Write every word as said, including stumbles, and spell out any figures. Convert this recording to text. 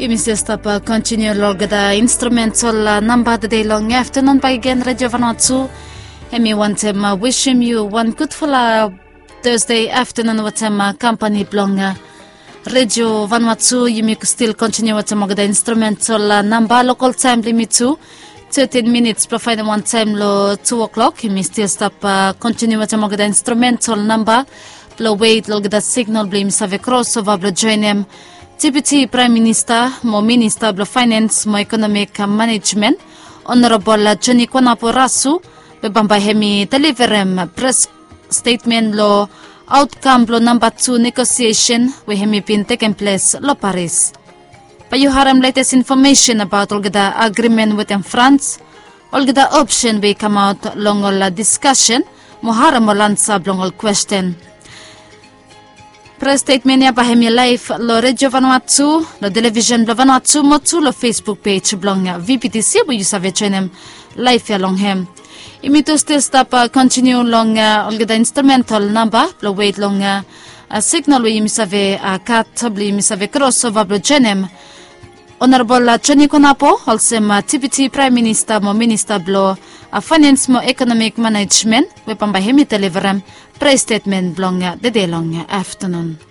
Yumi stil stap kontiniu long olgeta instrumental namba tede long aftanun bakegen, Redio Vanuatu. Hemi wantem wisim yu wan gudfala Thursday aftanun wetem kampani blong Redio Vanuatu. Yumi stil kontiniu wetem olgeta instrumental namba, lokal taem blong yumi tu. Tetin minits blong faenem wan taem long tu o'clock. Yumi stil stap kontiniu wetem olgeta instrumental namba blong wet long olgeta signal blong yumi save krosova blong joenem Deputi Praem Minista mo Minista blong Faenens mo Ekonomik Manejmen, Honorabol Joni Konapo Rasu, we bambae hemi deliverem pres stetmen long aotkam blong namba tu negosiesen we hemi bin tekem ples long Paris. Bae yu harem letes infomesen abaot olgeta agrimen wetem Frans, olgeta opsen we i kamaot long ol diskasen, mo harem ol ansa blong ol kwesten. Pres stetmen ya bae hemi laef long Redio Vanuatu, long televisen blong Vanuatu mo tu long Facebook pej blong VPTC we yu save joenem laef ya long hem. Yumi tu stil stap kontiniu long olgeta instrumental namba blong wet long signal we yumi save gat blong yumi save krosova blong joenem Honorabol Joni Konapo olsem Deputi Praem Minista mo Minista blong Faenens mo Ekonomik Manejmen, we bambae hemi deliverem pres stetmen blong tede long aftanun.